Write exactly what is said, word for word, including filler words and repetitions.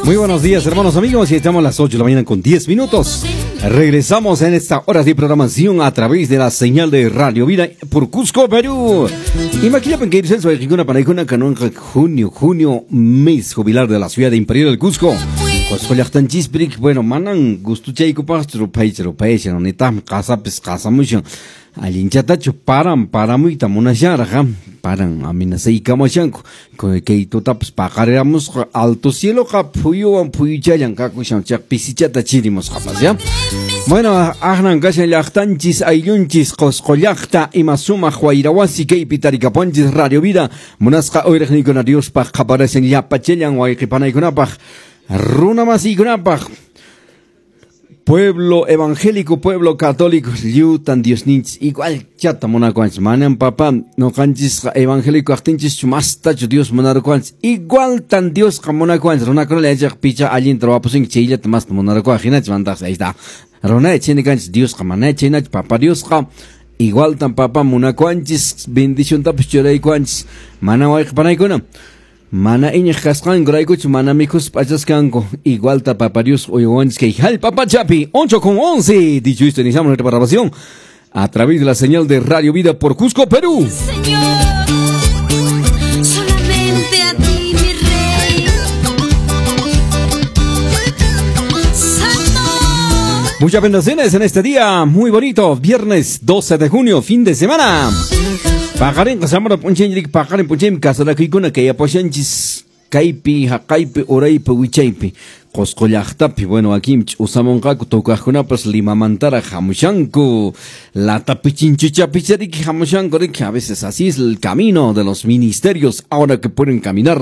Muy buenos días, hermanos, amigos. Y estamos a las ocho de la mañana con diez minutos. Regresamos en esta hora de programación a través de la señal de Radio Vida por Cusco, Perú. Imagínate que irse para junio, junio, mes jubilar de la ciudad de Imperial del Cusco. Cusco llaqtanchispik, bueno, manan gustuchaykupaqchu ruphaycha ruphaycha, nitaqmi qasapis qasamushan. Allinchatachu paran paramuyta munashanraq, paran amenazaykamashanku. Kay tutapas paqariramusqa alto cieloqa phuyuwan phuyuchallan kakushan, chaq pisichata chirimusqapas, ya. Bueno, aqnan kashan llaqtanchis ayllunchis Qosqo llaqta ima sumaq wayrawasi kaypi tarikapunchis Radio Vida munasqa uyriqniykuna Diospaq qaparashan llapachallan wayqipanaykunapaq runa masiykunapaq. Pueblo evangélico, pueblo católico, lliwtan Diosninchis igual chata munakuanchis. Manan papá, noqanchis evangélico aqtinchis mastachu Dios munarukuanchis. Igual tan Diosqa munakuanchis. Runakuna yachaq picha allinta ruwapusunki chayllata masta munarukuaq hinachis mantaqsi. Ahí está. Runa chaynikanchis Diosqa mana chaynachu papá Diosqa igual tan papá munakuanchis bendiciontapas churaykuanchis. Mana wayqipanaykuna. Mana iñiq kasqankuraykuchu mana mikhuspa p'achasqanku igualta papá Dios uywanchis kay jallp'a pachapi ocho con once. Dicho esto, iniciamos nuestra programación a través de la señal de Radio Vida por Cusco, Perú. Señor, solamente a ti, mi rey. Santo. Muchas bendiciones en este día muy bonito, viernes doce de junio, fin de semana. Paqarinqa samara p'unchayñirik paqarin p'unchaymi kasarakuykuna kay apashanchis kaypi haqaypi uraypi wichaypi Qosqo llaqtapi. Bueno, aquí ch'usamunqaku tocaqkunapas Limamantaraq hamushanku latapichinchuchapichariki hamushanku riki. A veces así es el camino de los ministerios ahora que pueden caminar.